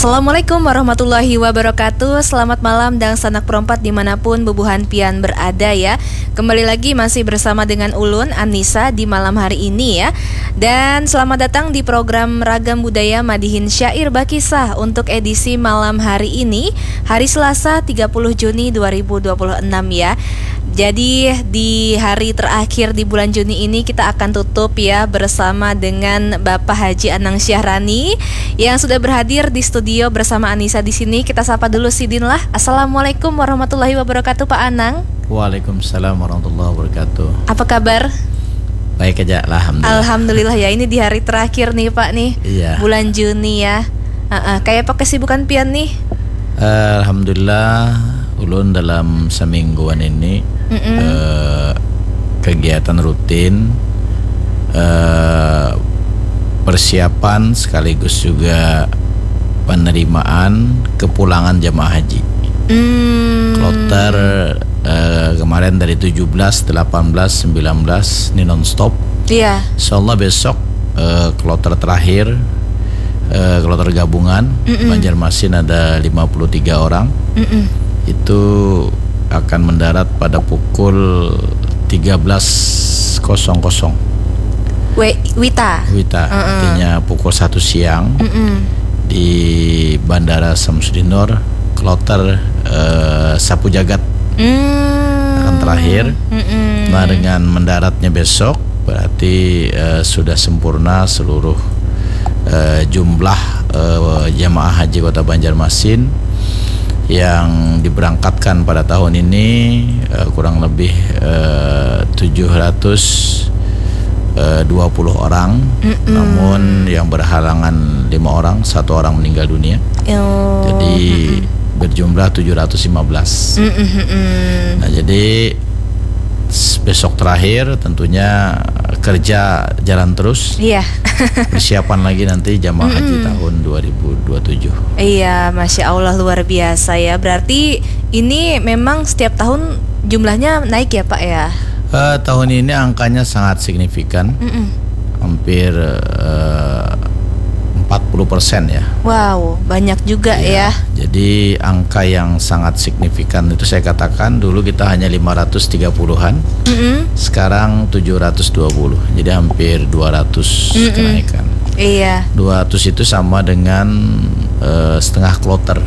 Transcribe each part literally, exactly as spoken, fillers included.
Assalamualaikum warahmatullahi wabarakatuh. Selamat malam dangsanak perompat dimanapun bubuhan pian berada ya. Kembali lagi masih bersama dengan ulun Anissa di malam hari ini ya. Dan selamat datang di program Ragam Budaya Madihin Syair Bakisah untuk edisi malam hari ini, hari Selasa tiga puluh Juni dua ribu dua puluh enam ya. Jadi di hari terakhir di bulan Juni ini kita akan tutup ya bersama dengan Bapak Haji Anang Syahrani yang sudah berhadir di studio bersama Anissa di sini. Kita sapa dulu sidin lah. Assalamualaikum warahmatullahi wabarakatuh Pak Anang. Waalaikumsalam warahmatullahi wabarakatuh. Apa kabar? Baik aja lah, alhamdulillah. Alhamdulillah ya, ini di hari terakhir nih Pak nih. Iya. Bulan Juni ya. Heeh, kayak apa kesibukan pian nih? Alhamdulillah, ulun dalam semingguan ini, Mm-mm. eh, kegiatan rutin, eh, persiapan sekaligus juga penerimaan kepulangan jamaah haji. Hmm. Kloter, eh, kemarin dari tujuh belas, delapan belas, sembilan belas, ini nonstop. Iya. Insya Allah besok, eh, kloter terakhir, eh, kloter gabungan, Mm-mm. Banjarmasin ada lima puluh tiga orang. Mm-mm. Itu akan mendarat pada pukul tiga belas kosong kosong. We-, Wita. Wita, Heeh. Artinya pukul satu siang. Mm-mm. Di Bandara Samsudinur, kloter, eh, Sapu Jagat. Hmm. Akan terakhir. Mm-mm. Nah, dengan mendaratnya besok, berarti, eh, sudah sempurna seluruh, eh, jumlah, eh, jamaah haji Kota Banjarmasin yang diberangkatkan pada tahun ini, eh, kurang lebih, eh, tujuh ratus dua puluh orang, Mm-mm. Namun yang berhalangan lima orang, satu orang meninggal dunia. Oh, Jadi, mm-mm. Berjumlah tujuh ratus lima belas. Mm-mm, mm-mm. Nah, jadi s-, besok terakhir tentunya kerja jalan terus. Iya. Persiapan lagi nanti jamaah haji Mm-mm. tahun dua ribu dua tujuh. Iya, Masya Allah, luar biasa ya. Berarti ini memang setiap tahun jumlahnya naik ya, Pak, ya? Eh, tahun ini angkanya sangat signifikan. Mm-mm. Hampir, eh, empat puluh persen ya. Wow, banyak juga Iya, ya. Jadi angka yang sangat signifikan itu saya katakan dulu kita hanya lima ratus tiga puluhan, Mm-mm. Sekarang tujuh ratus dua puluh. Jadi hampir dua ratus Mm-mm. kenaikan. Iya. Dua ratus itu sama dengan, eh, setengah kloter.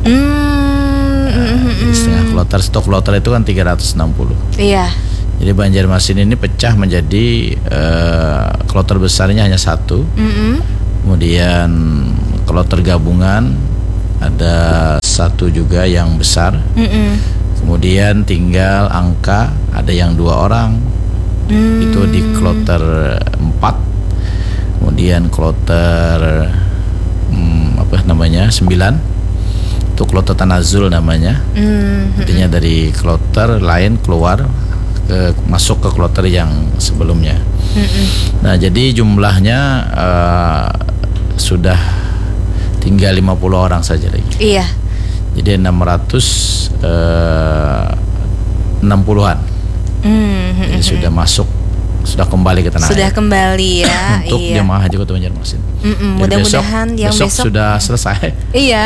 Hmm, Nah, mm-mm, jadi setengah mm-mm. kloter, satu kloter itu kan tiga ratus enam puluh. Iya. Jadi Banjarmasin ini pecah menjadi, eh, kloter besarnya hanya satu. Mm-mm. Kemudian kloter gabungan ada satu juga yang besar. Mm-mm. Kemudian tinggal angka, ada yang dua orang. Hmm. Itu di kloter empat. Kemudian kloter, hmm, apa namanya, sembilan. Itu kloter tanazul namanya. Hmm, Artinya mm-mm. dari kloter lain keluar ke, masuk ke kloter yang sebelumnya. Mm-mm. Nah, jadi jumlahnya, eh, sudah tinggal lima puluh orang saja lagi. Iya. Jadi enam ratus, eh, enam puluhan. Hmm, hmm, Jadi hmm. sudah masuk, sudah kembali ke tanah Sudah air. kembali ya. Untuk Iya. jemaah haji Kota Banjarmasin. Mm-mm, Jadi besok, mudah-mudahan yang besok besok sudah selesai. Iya.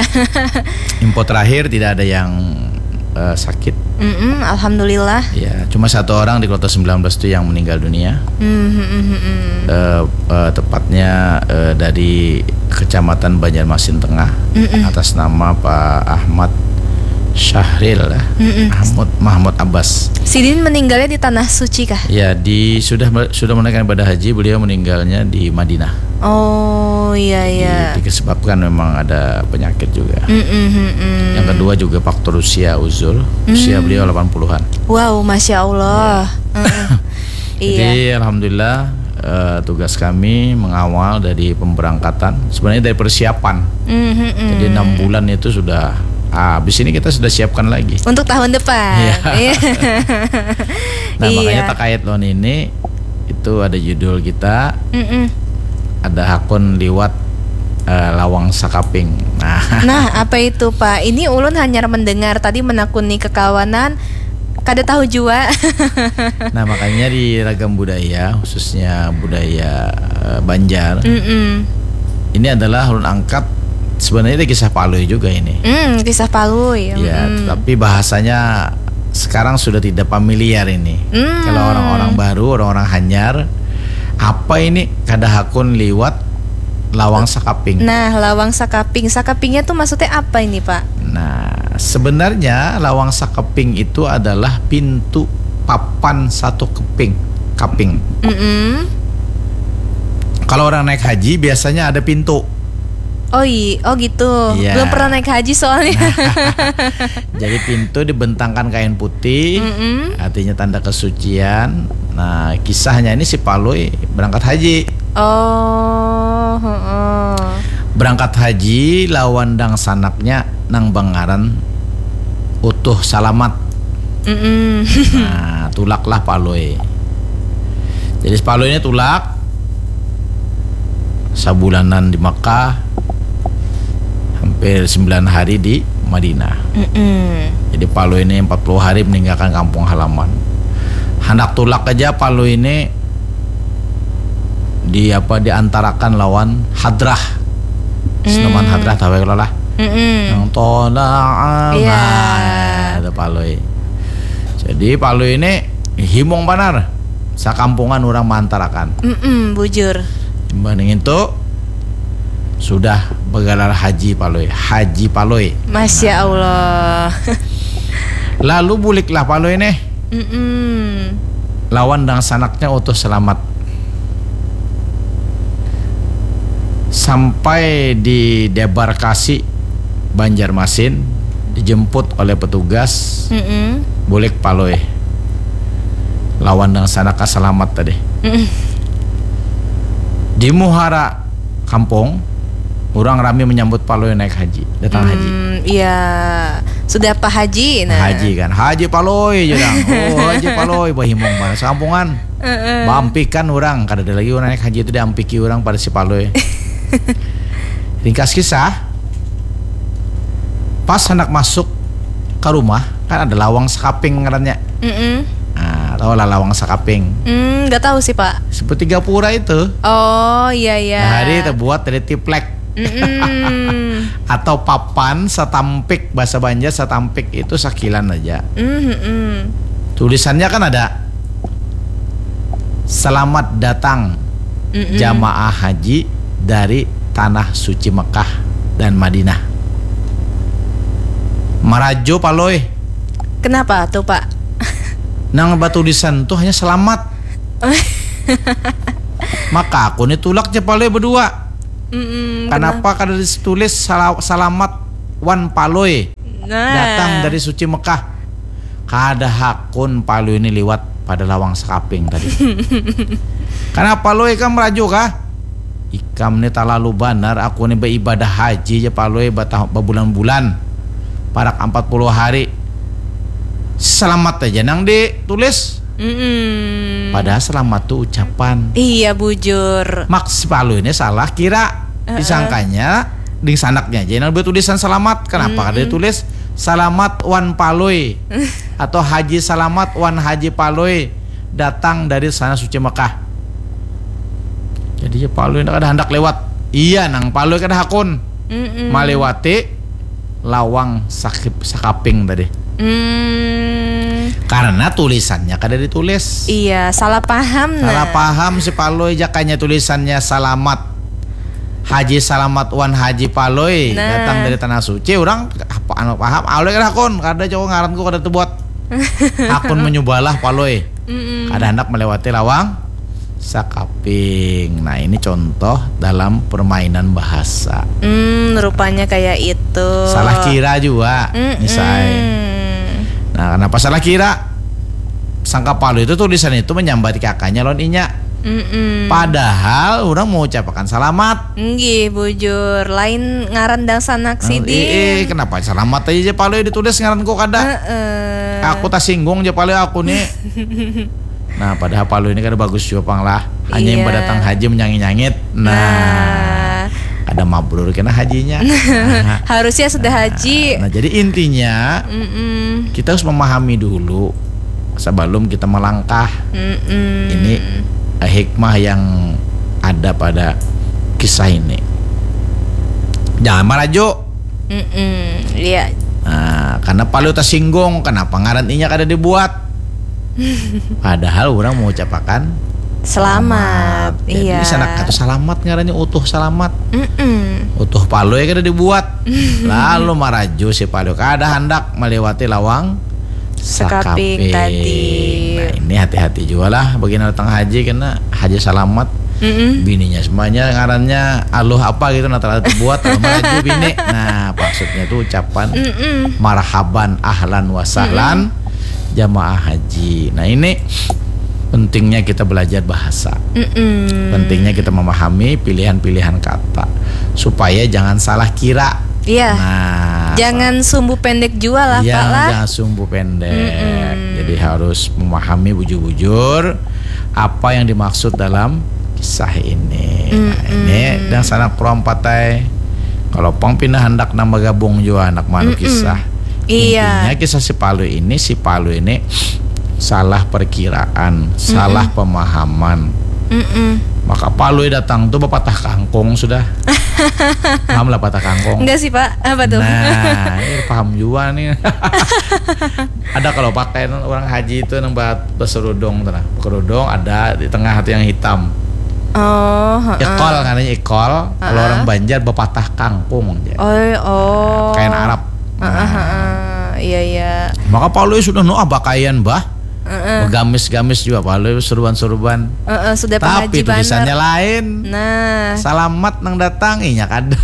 Info terakhir tidak ada yang, eh, sakit. Mm-mm, alhamdulillah. Ya, cuma satu orang di kloter sembilan belas itu yang meninggal dunia. Hmm, hmm, hmm, hmm, hmm. Eh, eh, tepatnya, eh, dari Kecamatan Banjarmasin Tengah, Mm-mm. atas nama Pak Ahmad Syahril, eh. Mm-mm. Ahmad Mahmud Abbas. Sidin meninggalnya di Tanah Suci kah? Ya, di, sudah me-, sudah menunaikan ibadah haji, beliau meninggalnya di Madinah. Oh, iya, Jadi, iya. disebabkan memang ada penyakit juga. Mm-mm, mm-mm. Yang kedua juga faktor usia, uzur. Usia Mm. beliau delapan puluhan. Wow, Masya Allah. Ya. Mm-mm. Iya. Jadi, alhamdulillah, eh, tugas kami mengawal dari pemberangkatan. Sebenarnya dari persiapan. Mm-hmm. Jadi, enam bulan itu sudah, ah, habis ini kita sudah siapkan lagi. Untuk tahun depan. Iya. Iya. Nah, makanya Iya. terkait lawan ini, itu ada judul kita, Mm-mm. ada hakun liwat, eh, lawang sakaping. Nah. Nah, apa itu, Pak? Ini ulun hanyar mendengar tadi menakuni kekawanan, kada tahu jua. Nah, makanya di Ragam Budaya, khususnya budaya, eh, Banjar, Mm-mm. ini adalah ulun angkat Sebenarnya ada kisah Palui juga ini. Hmm, kisah Palui. Ya, Mm-mm. Tapi bahasanya sekarang sudah tidak familiar ini. Hmm. Kalau orang-orang baru, orang-orang hanyar, apa ini kada hakun liwat lawang sakaping. Nah, lawang sakaping. Sakapingnya tuh maksudnya apa ini, Pak? Nah, sebenarnya lawang sakeping itu adalah pintu papan satu keping, kaping. Mm-mm. Kalau orang naik haji biasanya ada pintu. Oh iya, oh gitu. Iya. Belum pernah naik haji soalnya. Jadi pintu dibentangkan kain putih, Mm-mm. artinya tanda kesucian. Nah, kisahnya ini si Palui berangkat haji. Oh, heeh. Berangkat haji lawan dangsanaknya nang bangaran Utuh Salamat. Mm-mm. Nah, tulaklah Palui. Jadi Palui ini tulak sabulanan di Makkah, hampir sembilan hari di Madinah. Mm-mm. Jadi Palui ini empat puluh hari meninggalkan kampung halaman. Handak tulak aja Palui ini di apa diantarakan lawan Hadrah. Senaman Hmm. Hadrah tahu ya kalau lah. Mm-mm. Yang tolak Iya. Nah, itu Palui. Jadi Palui ini himung banar. Sakampungan orang mantarakan. Mm-mm, bujur. Banding itu sudah bergelar Haji Palui, Haji Palui. Masya Allah. Lalu buliklah Palui nih Mm-mm. lawan dangsanaknya Utuh Selamat. Sampai di debarkasi Banjarmasin, dijemput oleh petugas, Mm-mm. bulik Palui lawan dangsanaknya Selamat tadi. Mm-mm. Di muhara kampung, orang rami menyambut Palui naik haji, datang haji. Hmm, iya. Sudah Pak Haji, nah. Haji kan, Haji Palui je dang. Oh, Haji Palui, bahimung mana sekampungan. Heeh. Bampikan orang, kada ada lagi orang naik haji itu diampiki orang pada si Palui. Ringkas kisah, pas hendak masuk ke rumah, kan ada lawang sakaping ngarannya. Mm-mm. Nah, tahu lah lawang sakaping. Hmm, nggak tahu sih, Pak. Seperti gapura itu. Oh, iya, iya. Hari terbuat dari tiplek. Mm-mm. Atau papan satampik, bahasa Banjar satampik itu sakilan aja. Mm-mm. Tulisannya kan ada, "Selamat datang Mm-mm. jamaah haji dari tanah suci Mekah dan Madinah." Marajo Palui. Kenapa tuh, Pak? Nang batulisan tuh hanya selamat. Maka aku nih tulak je Palui berdua. Mm-mm, Kenapa kada ditulis sala- salamat wan Palui Nah. datang dari suci Mekah? Kada hakun Palui ini liwat pada lawang sakaping tadi. Kenapa Palui ikam merajuk kah? Ikam ni talalu banar, aku ni baibadah haji ja Palui batah- babulan-bulan. Parak empat puluh hari. Selamat aja nang ditulis. Mm-mm. Padahal selamat tu ucapan. Iya, bujur. Mak si Palui ini salah kira. Heeh. Disangkanya dingsanaknya aja nang bertulisan selamat. Kenapa kada Mm-mm. ditulis selamat wan Palui atau Haji Salamat wan Haji Palui datang dari sana suci Mekah? Jadi ya Palui kada handak lewat. Iya nang Palui kada hakun Mm-mm. malewati lawang sakip sakaping tadi. Hmm. Karena tulisannya kada ditulis. Iya, salah paham nah. Salah paham si Palui, jakanya tulisannya Salamat. Haji Salamat wan Haji Palui Nah. datang dari tanah suci. Orang apa anu paham? Alui kada hakun, kada jauh ngaranku kada tebuat. Hakun menyubalah Palui. Mm-mm. Kada hendak melewati lawang sakaping. Nah, ini contoh dalam permainan bahasa. Hmm, rupanya kayak itu. Salah kira juga, Mm-mm. misai. Nah, kenapa salah kira? Sangka Palui itu tulisan itu menyambat kakaknya lawan inya. Mm-mm. Padahal orang mengucapkan salamat. Nggih, bujur. Lain ngaran dangsanak sidin. Eh, kenapa salamat aja je Palui ditulis ngaranku kada? Heeh. Aku tasinggung je Palui aku nih. Nah, padahal Palui ini kada bagus juga pang lah. Hanya yang Iya. berdatang haji menyangit-nyangit. Nah, Nah. Kada mabrur kena hajinya. Harusnya sudah haji. Nah, jadi intinya Mm-mm. kita harus memahami dulu sebelum kita melangkah. Mm-mm. Ini eh, hikmah yang ada pada kisah ini. Jangan maraju. Mm-mm, iya. Nah, karena palu tersinggung, kenapa ngaran inya kada dibuat? Padahal orang mengucapakan Selamat. Jadi Iya. Sanak atau salamat ngarannya, utuh salamat. Mm-mm. Utuh palu ya kada dibuat. Lalu maraju si palu kada handak melewati lawang Sekaping tadi. Nah, ini hati-hati juga lah bagi datang haji, karena haji salamat. Mm-mm. Bininya semuanya ngarannya Aluh apa gitu, nah terlalu buat, lalu maraju bini. Nah, maksudnya tuh ucapan Mm-mm. marhaban, ahlan wa sahlan jamaah haji. Nah, ini pentingnya kita belajar bahasa. Mm-mm. Pentingnya kita memahami pilihan-pilihan kata supaya jangan salah kira. Iya. Nah, Jangan sumbu pendek juga lah, ya, Pak lah. Jangan sumbu pendek. Mm-mm. Jadi harus memahami bujur-bujur apa yang dimaksud dalam kisah ini. Nah, Mm-mm. ini dan sanak perompat ai. Kalau pang pindah hendak nambah gabung juga anak manu Mm-mm. kisah. Iya. Intinya kisah si Palu ini, si Palu ini salah perkiraan, salah pemahaman. Mm-mm. Maka Palui datang tuh bapatah kangkung sudah. Paham lah patah kangkung? Enggak sih, Pak. Apa tuh? Nah, ini paham juga nih. Ada kalau pakaian orang haji itu nang buat beserudung tuh nah. Kerudung ada di tengah itu yang hitam. Oh, heeh. Ikol, katanya ikol. Kalau Heeh. Orang Banjar bapatah kangkung aja. Oh, oh. Kain Arab. Heeh, heeh. Iya, iya. Maka Palui sudah nu ah pakaian bah. Heeh. Begamis-gamis juga Palui, seruban-seruban. Heeh, sudah Tapi pengaji tulisannya banar. Lain. Nah, Selamat nang datang, inya kada.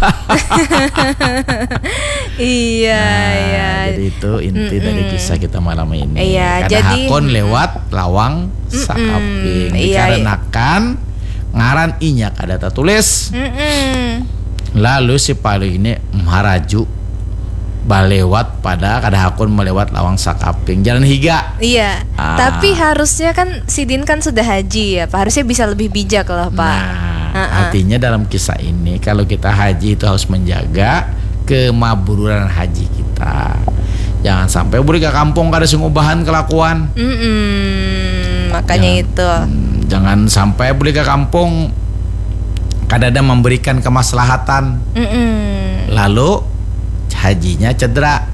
iya, Nah, iya. Jadi itu inti Mm-mm. Dari kisah kita malam ini. Iya, Kada jadi, hakun mm-mm. Lewat lawang Mm-mm, sakaping. iya. Dikarenakan ngaran inya kada tertulis. Mm-mm. Lalu si Palui ini maraju balewat pada kada hakun melewat lawang sakaping. Jalan higa. Iya, Ah. Tapi harusnya kan sidin kan sudah haji ya, Pak. Harusnya bisa lebih bijak lah, Pak. Nah, Heeh. Artinya dalam kisah ini kalau kita haji itu harus menjaga kemabruran haji kita. Jangan sampai balik ke kampung kada sing ubahan kelakuan. Mm-mm, makanya Jangan- itu. Hmm, jangan sampai balik ke kampung kada ada memberikan kemaslahatan. Mm-mm. Lalu hajinya cedera.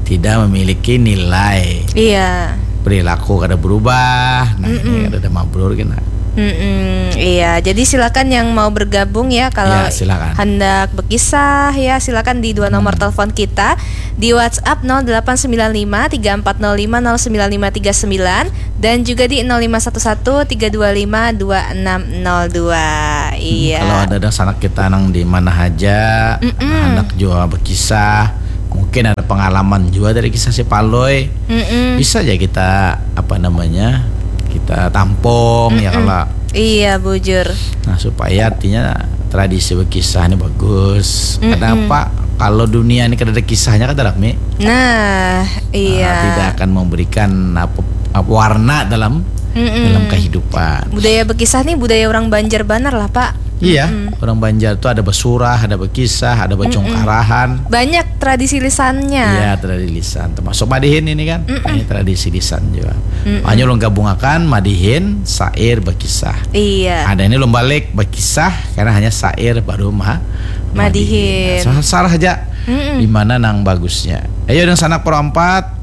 Tidak memiliki nilai. Iya. Perilaku kada berubah. Nah, ini Mm-mm. kada ada mabrur kena. Mm-mm, iya, jadi silakan yang mau bergabung ya kalau Ya, silakan. Hendak berkisah ya, silakan di dua nomor Hmm. Telepon kita di WhatsApp nol delapan sembilan lima tiga empat nol lima nol sembilan lima tiga sembilan dan juga di nol lima satu satu tiga dua lima dua enam nol dua. Iya. Kalau ada ada sanak kita nang di mana aja, Mm-mm. Hendak juga berkisah, mungkin ada pengalaman juga dari kisah si Palui. Mm-mm. Bisa aja kita apa namanya kita tampung ya Mm-mm. kalau Iya, bujur. Nah, supaya artinya tradisi berkisah ini bagus. Mm-mm. Kenapa? Kalau dunia ini kada ada kisahnya kada rame. Nah, iya. Nah, tidak akan memberikan apa, apa warna dalam Mm-mm. dalam kehidupan. Budaya berkisah nih budaya orang Banjar banar lah, Pak. Iya, Mm-mm. Orang Banjar tuh ada bersurah, ada berkisah, ada bercungkarahan. Banyak tradisi lisannya. Iya, tradisi lisan. Termasuk madihin ini kan. Mm-mm. Ini tradisi lisan juga. Mm-mm. Hanya ulun gabungakan madihin, sair, berkisah. Iya. Ada ini ulun balik berkisah karena hanya sair baru ma Madihin. Nah, sarah aja Mm-mm. di mana nang bagusnya. Ayo, dengan sanak perompat,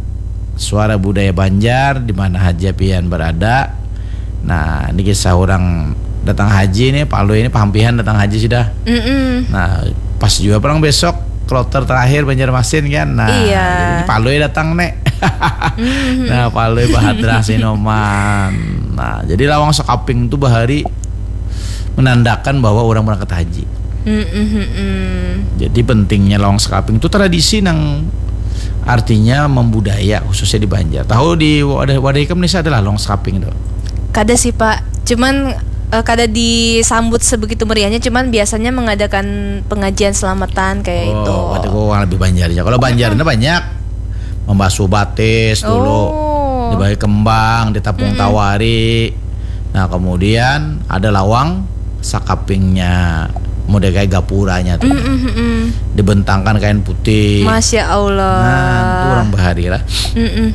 suara budaya Banjar di mana aja pian berada. Nah, ini kisah orang datang haji nih, Palui ini paham pian datang haji sudah. Mm-mm. Nah, pas juga perang besok kloter terakhir Banjarmasin kan. Nah, Iya. Ini Palui datang nih. Mhm. Nah, Palui bahadrah Sinoman. Nah, jadi lawang sekaping tuh bahari menandakan bahwa orang berangkat haji. Mm-mm, mm-mm. Jadi pentingnya lawang sekaping itu tradisi nang artinya membudaya khususnya di Banjar. Tahu di wadah wadah ikam nih adalah lawang sekaping tuh. Kada sih, Pak. Cuman eh, kada disambut sebegitu meriahnya, cuman biasanya mengadakan pengajian selamatan kayak Oh, itu. Berarti gua orang lebih Banjar aja. Kalau Banjarnya banyak membasuh batis dulu, Oh. Dibagi kembang, ditapung Mm-mm. Tawari. Nah, kemudian ada lawang sakapingnya, model kayak gapuranya tuh. Mm-mm, mm-mm. Dibentangkan kain putih. Masya Allah. Nah, itu orang bahari lah. Mm-mm.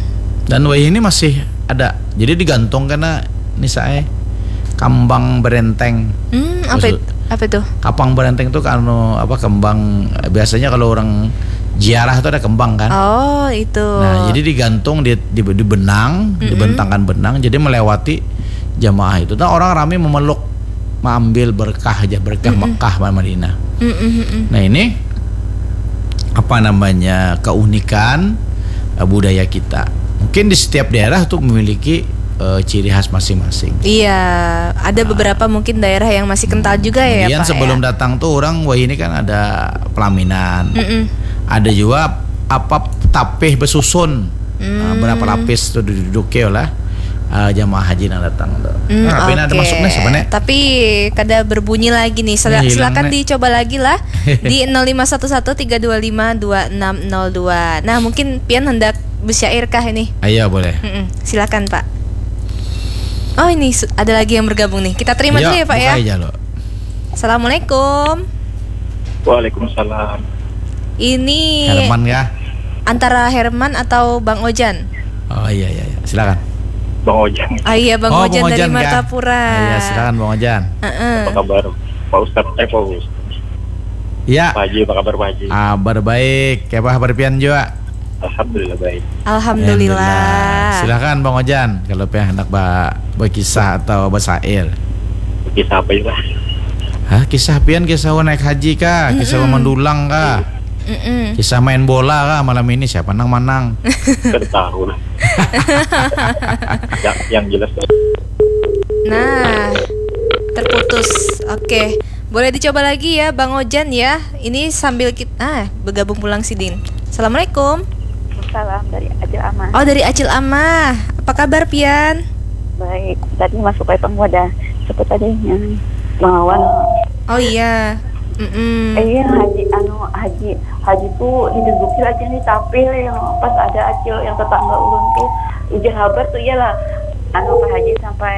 Dan wayah ini masih ada. Jadi digantung karena ini saya kambang berenteng. Hmm, apa Maksud- itu? Apa tuh? Kapang berenteng tuh kan anu apa kembang, biasanya kalau orang ziarah tuh ada kembang kan. Oh, itu. Nah, jadi digantung di di, di benang, dibentangkan benang, jadi melewati jamaah itu. Nah, orang ramai memeluk, mengambil berkah aja, berkah Mekah sama Madinah. Nah, ini apa namanya, keunikan eh, budaya kita. Mungkin di setiap daerah tuh memiliki eh, ciri khas masing-masing. Iya, ada beberapa mungkin daerah yang masih kental juga ya, Kemudian Pak, sebelum ya? datang tuh orang, wah, ini kan ada pelaminan. Mm-mm. Ada juga apa, tapih besusun. Nah, berapa lapis tuh diduduknya lah eh, jamaah haji yang datang tuh. Hmm, Nah, tapi ini ada oke. Masuk nih sebenarnya. Tapi kada berbunyi lagi nih. Sila- Ini hilang silakan nih. Dicoba lagi lah di nol lima satu satu tiga dua lima dua enam nol dua. Nah, mungkin pian hendak bersyair kah ini? Ayo, boleh. Mm-mm. Silakan, Pak. Oh, ini su- ada lagi yang bergabung nih. Kita terima dulu ya, Pak, ya. Buka aja lo. Assalamualaikum. Waalaikumsalam. Ini Herman kah? Antara Herman atau Bang Ojan? Oh, iya, iya, iya. Silakan. Bang Ojan. Ah, iya, Bang Oh, Ojan Bang dari Ojan kah? Martapura. Ah, iya, silakan Bang Ojan. Heeh. Apa kabar Pak Ustadz? Eh, Pak Ustadz. Ya, Pak Haji, apa kabar Pak Haji? Kabar baik. Kayak apa kabar pian juga? Alhamdulillah baik. Alhamdulillah. Silakan Bang Ojan kalau pian hendak ba berkisah atau bersair. Kisah apa ya, Pak? Hah, kisah pian, kisah naik haji kah? Kisah mandulang kah? Mm-mm. Kisah main bola kah malam ini, siapa nang manang? Kada tahu lah. yang, yang jelas Nah, terputus. Oke. Boleh dicoba lagi ya, Bang Ojan ya. Ini sambil kita ah bergabung pulang sidin. Assalamualaikum. Salam dari Acil Amah. Oh, dari Acil Amah. Apa kabar pian? Baik. Tadi masuk kayak pengoda. Siapa tadi yang mengawan? Oh iya. Mm-mm. Eh, iya, haji anu haji haji tuh diduduki lagi nih, tapi yang pas ada acil yang tetangga ulun tuh ujar habar tuh, iyalah, anu, Pak Haji sampai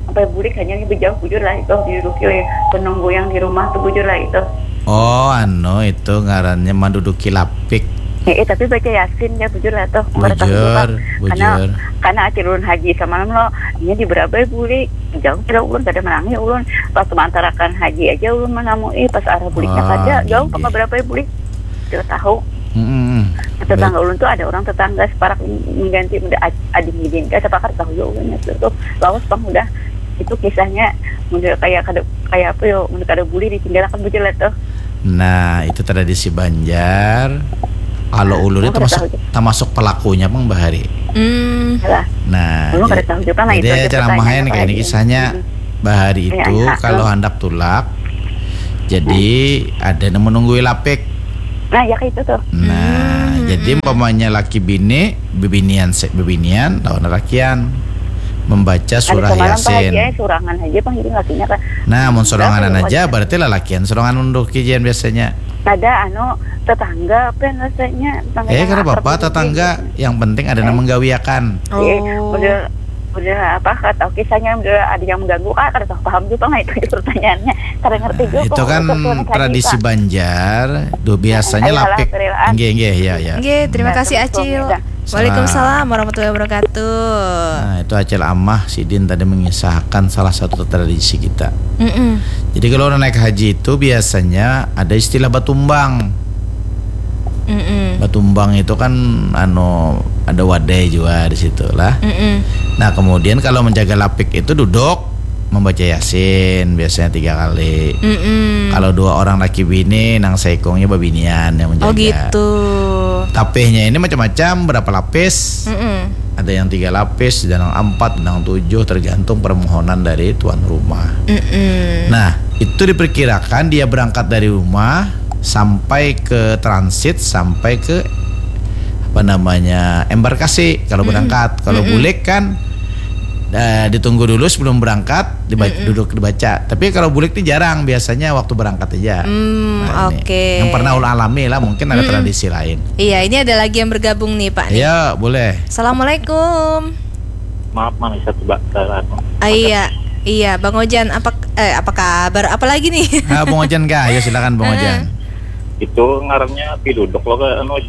sampai bulik hanya nih, bejauh bujur lah itu, diduduki oleh penunggu yang di rumah tuh, bujur lah itu. Oh, anu, itu ngarannya manduduki lapik. Eh, eh, tapi baca yasin ya, bujur lah tuh. Kada tahu Bujur, juga. Karena bujur. Karena acil ulun haji samalam lo, inya di berabai bulik, jauh kira ulun, kada menangi ulun. Pas mantarakan haji aja ulun menamui, pas arah buliknya Ah, kada, jauh gini. Pang berabai bulik. Kada tahu. Mm-mm. Tetangga ulun tuh ada orang tetangga separak mengganti, udah ad- ading gidin, kada sepakat tahu ya ulun itu tuh. Lawas pang udah, itu kisahnya udah kayak kada, kayak apa yo, udah kada boleh ditinggalkan, bujur lah tuh. Nah, itu tradisi Banjar. Kalau ulun Oh, itu kada masuk tahu juga. Tamasuk pelakunya pang bahari. Hmm. Lah, Nah, Ulun kada jadi, tahu juga lah, itu jadi aja ceramahnya pertanyaan nih apa kayak ini lagi. Kisahnya Hmm. bahari Iya, itu iya. Kalau hendak tulak, jadi ada yang menunggui lapik. Nah, ya kayak itu tuh. Nah, jadi umpamanya laki bini, bebinian se- bebinian lawan lalakian membaca Ada surah semalam Pak Haji, Yasin. Eh, surangan aja pang, jadi lakinya kan. Nah, mun soranganan Berapa aja ya? Berarti lalakian sorangan menduduki jen biasanya. Ada anu tetangga apa yang rasanya tetangga Eh, yang kada akrab apa-apa, gitu. tetangga. Yang penting ada yang menggawiakan. Eh, Oh. udah udah apa, kada tahu kisahnya, udah ada yang mengganggu kah, kada tahu paham juga lah itu, itu pertanyaannya, kada ngerti Nah, juga itu kok, kan urusan suami tradisi Pak. Banjar, duh biasanya Ayolah, lapik. kerelaan. Nggih, nggih, ya, ya. Nggih, terima Nah, kasih terus Acil. suaminya. Waalaikumsalam warahmatullahi wabarakatuh. Nah, itu Acil Amah Sidin tadi mengisahkan salah satu tradisi kita. Mm-mm. Jadi kalau orang naik haji itu biasanya ada istilah batumbang. Mm-mm. Batumbang itu kan anu ada wadai juga di situ lah. Mm-mm. Nah, kemudian kalau menjaga lapik itu duduk membaca Yasin biasanya tiga kali. Mm-mm. Kalau dua orang laki bini, nang saikungnya babinian yang menjaga. Oh gitu. Tapihnya ini macam-macam, berapa lapis? Mm-mm. Ada yang tiga lapis, ada yang empat, ada yang tujuh, tergantung permohonan dari tuan rumah. Mm-mm. Nah, itu diperkirakan dia berangkat dari rumah sampai ke transit, sampai ke apa namanya embarkasi kalau berangkat. Kalau bulik kan eh, ditunggu dulu sebelum berangkat, diba- duduk dibaca. Tapi kalau bulik ini jarang, biasanya waktu berangkat aja. Hmm, Nah, ini. oke. Yang pernah ulun alami lah, mungkin ada tradisi lain. Iya, ini ada lagi yang bergabung nih, Pak, nih. Ya, boleh. Assalamualaikum. Maaf, mana satu, Mbak? Eh, anu. Ah, iya, iya, Bang Ojan, apa eh apa kabar? Apa lagi nih? Ah, Bang Ojan kah? Ya, silakan Bang Ojan. Itu ngarannya piluduk lo, ke anu,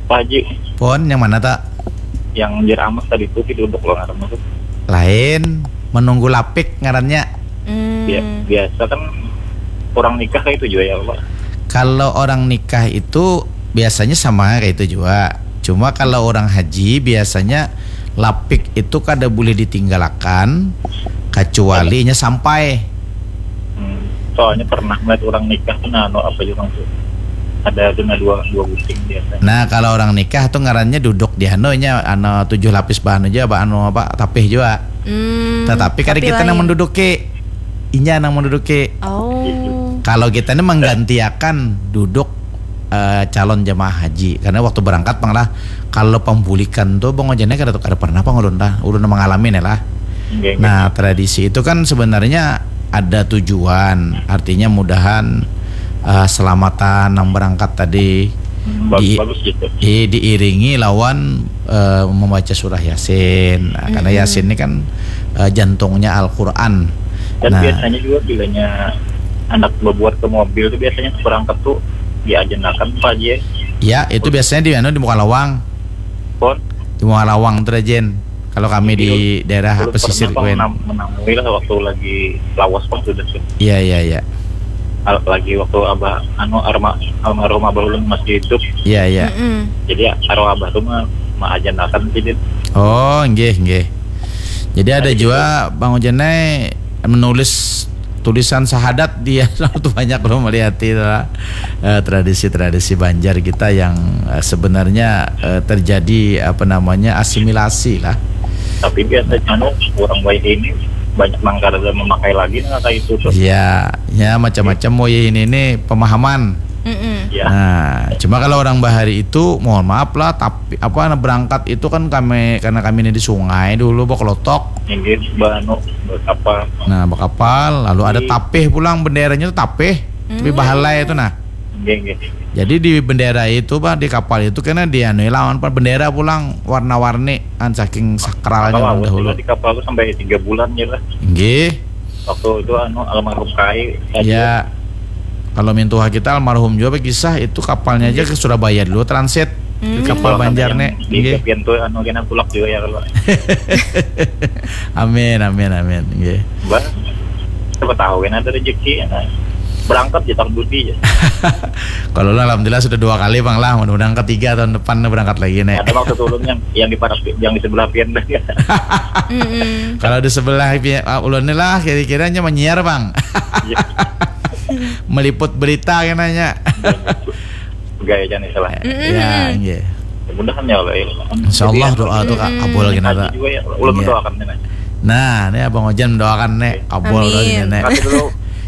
Pak Haji. Pon yang mana tak? Yang jar Amah tadi tuh piluduk lo ngarannya tuh. Lain, menunggu lapik ngarannya. Hmm. Bia- biasa kan Orang nikah kayak itu juga ya, Pak? Kalau orang nikah itu biasanya sama kayak itu juga. Cuma kalau orang haji biasanya lapik itu kada boleh ditinggalakan kecuali inya sampai. Hmm. Soalnya pernah melihat orang nikah tuh, nah, anu apa juga tuh. Ada tuh, nah, dua dua buting biasanya. Nah, kalau orang nikah tuh ngarannya duduk di anu nya, anu tujuh lapis bahan aja, apa anu apa, tapih juga. Hmm, Tetapi kada tapi kita nang lain. Menduduki, inya nang menduduki. Oh. Kalau kita ini menggantiakan duduk eh, calon jemaah haji, karena waktu berangkat pang lah, kalau pambulikan tuh Bang Ojan kada kada pernah pang ulun lah, ulun mengalami nih lah. Nggih, nggih. Nah, tradisi itu kan sebenarnya ada tujuan, artinya mudahan eh, selamatan nang berangkat tadi Hmm, bagus, di- bagus gitu. di- diiringi lawan eh, membaca surah Yasin. Nah, karena Mm-mm. Yasin ini kan eh, jantungnya Al-Qur'an. Dan Nah, biasanya juga bilanya anak berbuat ke mobil tuh biasanya berangkat tuh diajenakan Pak Haji. Ya, itu biasanya di anu di Mukalawang. Pon. Di Mukalawang tuh, Jen. Kalau kami di daerah Dulu pesisir pernah, Pak, kuen. menam- menamui lah waktu lagi lawas, Pak, sudah tuh. Iya, iya, iya. Al- lagi waktu abah anu arma almarhum abah ulun masih hidup. Iya, iya. Mm-mm. Jadi arwah abah tuh mah maajenakan sih, Din. Oh, nggih, nggih. Jadi ada juga Bang Ojan nih menulis tulisan syahadat dia tuh banyak loh melihat itu lah. Eh, tradisi-tradisi Banjar kita yang eh, sebenarnya eh, terjadi apa namanya asimilasi lah. Tapi biasanya anu orang baik ini banyak nang kada memakai lagi, nah, kayak itu tuh. Ya, ya macam-macam mau ini ini pemahaman. Mm-mm. Ya. Nah, cuma kalau orang bahari itu mohon maaf lah, tapi apa nah, berangkat itu kan kami karena kami ini di sungai dulu bawa kelotok. Inggih, anu, berkapal. Nah, berkapal, lalu ada Di- tapih pulang, benderanya itu tapih, tapi Hmm. bahalai itu nah. Inggih, inggih. Jadi di bendera itu, Pak, di kapal itu kena dianu lawan, Pak, bendera pulang warna-warni kan saking sakralnya Kalau orang aku dahulu. juga di kapal tuh sampai tiga bulan ya lah. Nggih. Waktu itu anu almarhum Kai. Ya. Kalau mintuha kita almarhum juga kisah itu kapalnya aja ke Surabaya dulu transit. Hmm. Di kapal Kalau Banjar yang nih. Di Nggih. Pian tuh anu kena tulak juga ya kalau. Amin, amin, amin. Nggih. Mbak, siapa tahu kan ada rezeki ya. Nah. Berangkat ya tahun budi ya. Kalau lah alhamdulillah sudah dua kali Bang lah, mudah-mudahan ketiga tahun depan berangkat lagi nih. Ada waktu turun yang yang di parak yang di sebelah Pian dah. Mm-mm. Kalau di sebelah pi- ah, ulun ni lah kira-kiranya menyiar Bang. Iya. Meliput berita kenanya. Gaya aja nih salah. Mm-mm. Ya, nggih. Mudahan ya Allah ya. Insya Allah doa tu Jadi, kabul kena. Haji juga ya. Ulun Iya. Mendoakan nih. Nah, ini Abang Ojan mendoakan nih kabul Amin. kali nenek. Kasih dulu.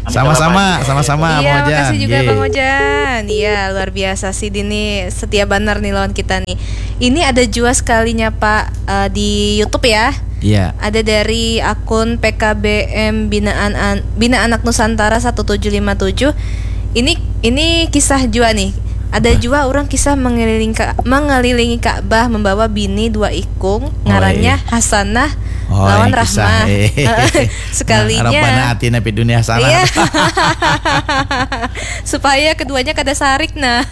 Sama-sama, sama-sama Iya, Abang Ojan. makasih juga Nggih. Bang Ojan. Iya, luar biasa sih Dini, setia banar nih lawan kita nih. Ini ada jua sekalinya Pak eh, di YouTube ya. Iya. Ada dari akun P K B M Binaan An- Bina Anak Nusantara satu tujuh lima tujuh. Ini ini kisah jua nih. Ada jua orang kisah mengelilingi Ka- mengelilingi Ka'bah membawa bini dua ikung, Oh, ngarannya iya. Hasanah Oh, lawan ini kisah. Rahmah. Eh. Sekalinya. Nah, Rabbana atina fid dunya hasanah. Iya. Supaya keduanya kada sarik nah.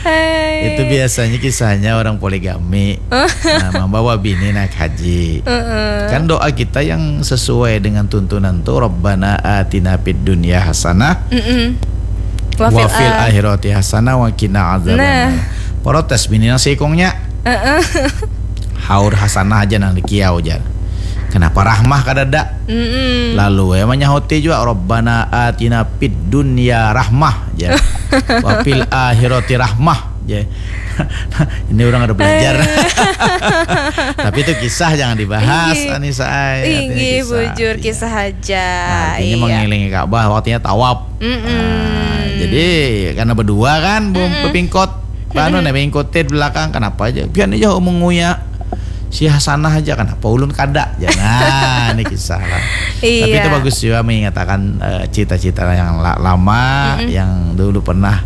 Hai. Itu biasanya kisahnya orang poligami. Nah, membawa bini naik haji. Heeh. Kan doa kita yang sesuai dengan tuntunan tuh Rabbana atina fid dunya hasanah Mm-mm. wa fil ah- akhirati hasanah wa qina adzabannar. Nah. Protes bini nang seikungnya. Heeh. Haur hasanah aja nang dikiau jar. Kenapa rahmah kadada? Mm-mm. Lalu ya menyahuti juga Rabbana atina fid dunya rahmah ya. Wa fil akhirati rahmah ya. Ini orang ada belajar. Tapi itu kisah jangan dibahas Inggih. Anissa ai. Artinya Inggih, bujur Iya. Kisah aja. Nah, artinya Iya. mengelilingi Ka'bah waktunya tawaf. Mm-mm. Nah, jadi karena berdua kan belum berpingkot. Anu nih mengikuti di belakang kenapa aja? Pian aja menguya si Hasanah aja kenapa ulun kada? Ya, nah, ini kisah lah. Tapi Iya. Itu bagus juga mengatakan eh, cita-cita yang la- lama Mm-mm. yang dulu pernah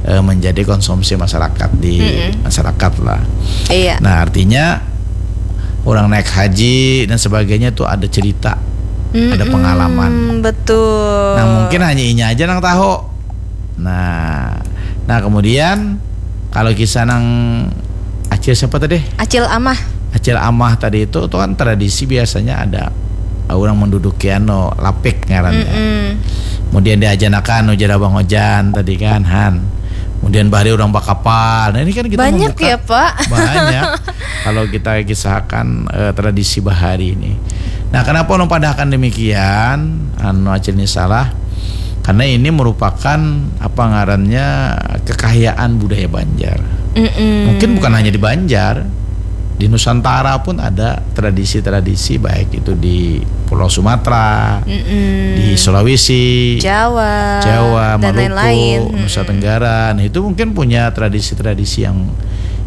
eh, menjadi konsumsi masyarakat di Mm-mm. masyarakat lah. Iya. Nah, artinya orang naik haji dan sebagainya tuh ada cerita, ada Mm-mm, pengalaman. Betul. Nah, mungkin hanya inya aja nang tahu. Nah, nah kemudian kalau kisah nang Acil siapa tadi? Acil Amah. Acil Amah tadi itu tuh kan tradisi biasanya ada orang menduduki anu lapik ngarannya. Mm-mm. Kemudian diajanakan ujar Abang Ojan tadi kan, Han. Kemudian bahari orang bakapal. Nah, ini kan kita Banyak membuka ya, Pak. Banyak. Kalau kita kisahkan eh, tradisi bahari ini. Nah, kenapa ulun padahkan demikian? Anu, Acil ni salah. Karena ini merupakan apa ngarannya, kekayaan budaya Banjar. Mm-mm. Mungkin bukan hanya di Banjar, di Nusantara pun ada tradisi-tradisi, baik itu di Pulau Sumatera, Mm-mm. di Sulawesi, Jawa, Jawa, dan Maluku, lain-lain. Nusa Mm-mm. Tenggara. Nah, itu mungkin punya tradisi-tradisi yang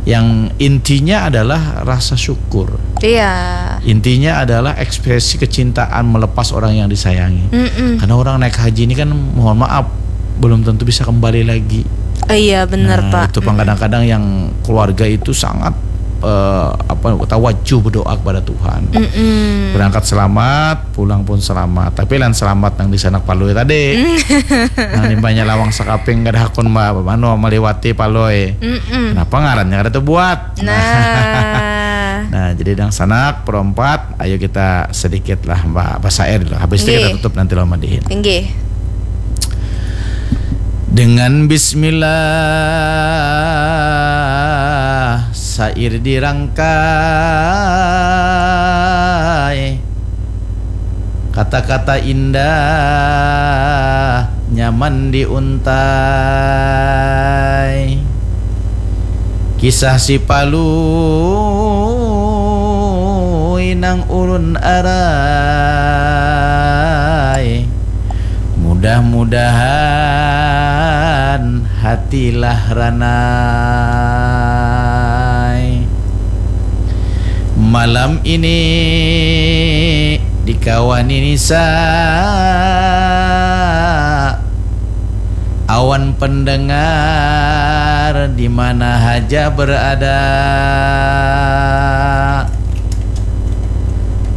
yang intinya adalah rasa syukur. Iya. Intinya adalah ekspresi kecintaan melepas orang yang disayangi. Mm-mm. Karena orang naik haji ini kan, mohon maaf, belum tentu bisa kembali lagi. Eh, iya, benar, Nah, Pak. Itu pang kadang-kadang yang keluarga itu sangat eh, apa, tawajuh berdoa kepada Tuhan. Mm-mm. Berangkat selamat, pulang pun selamat. Tapi lain selamat nang di sanak Palui tadi. Nang limbahnya lawang sakaping kada hakun ma-, anu, maliwati Palui. Mm-mm. Kenapa ngarannya kada terbuat? Nah. Nah, jadi dangsanak perempat, ayo kita sedikit lah ba-, basair dulu. Habis itu kita Nggih. Tutup nanti lo madihin. Inggih. Dengan bismillah sair dirangkai, kata-kata indah nyaman diuntai. Kisah si Palui nang ulun arai, mudah-mudahan hatilah ranai. Malam ini dikawani nisa awan pendengar di mana haja berada.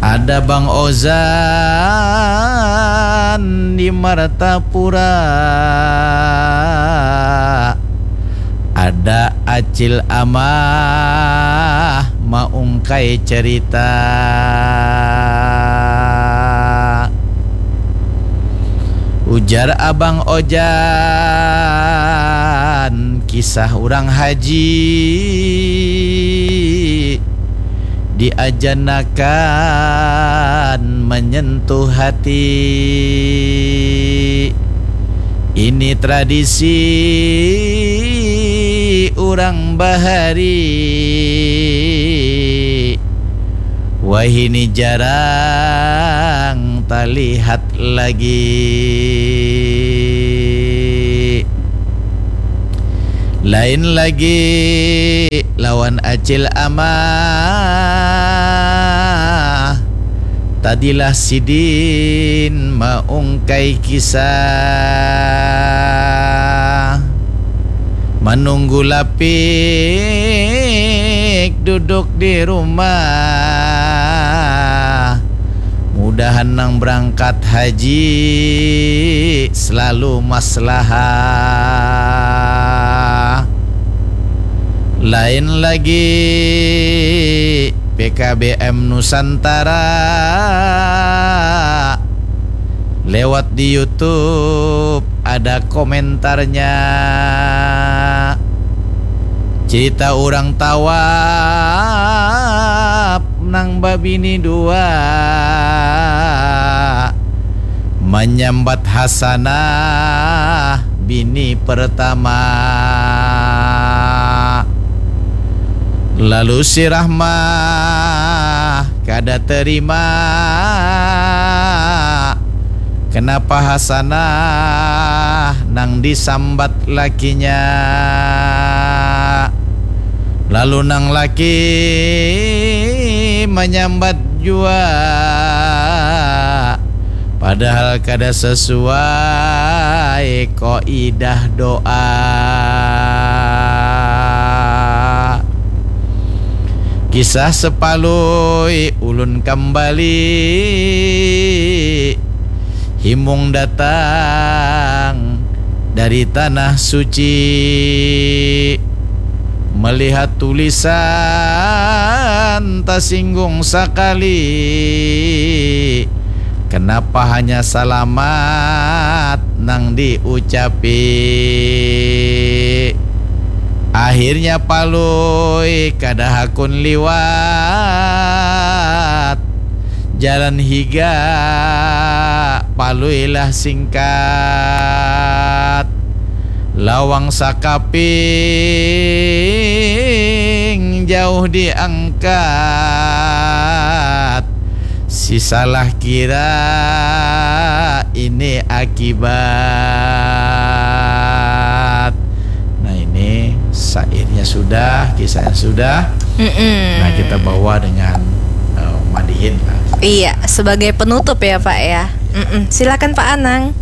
Ada Bang Ozan di Martapura. Ada Acil Amah maungkai cerita. Ujar Abang Ojan, kisah urang haji diajanakan menyentuh hati. Ini tradisi urang bahari. Wahini jarang talihat lagi. Lain lagi lawan Acil Amah. Tadilah sidin maungkai kisah. Manunggu lapik duduk di rumah. Mudahan nang berangkat haji selalu maslahah. Lain lagi P K B M Nusantara. Lewat di YouTube ada komentarnya. Cerita urang tawaf nang babini dua. Manyambat Hasanah bini pertama. Lalu si Rahmah kada terima. Kenapa Hasanah nang disambat lakinya? Lalu nang laki manyambat jua. Padahal kada sesuai kaidah doa. Kisah sepalui ulun kambali. Himung datang dari tanah suci. Melihat tulisan tasinggung sakali. Kenapa hanya salamat nang diucapi. Akhirnya Palui kada hakun liwat. Jalan higa Palui lah singkat. Lawang sakaping jauh diangkat. Si salah kira ini akibat. Nah, ini syairnya sudah, kisahnya sudah. Mm-mm. Nah, kita bawa dengan eh, madihin lah. Iya, sebagai penutup ya Pak ya. Mm-mm. Silakan Pak Anang.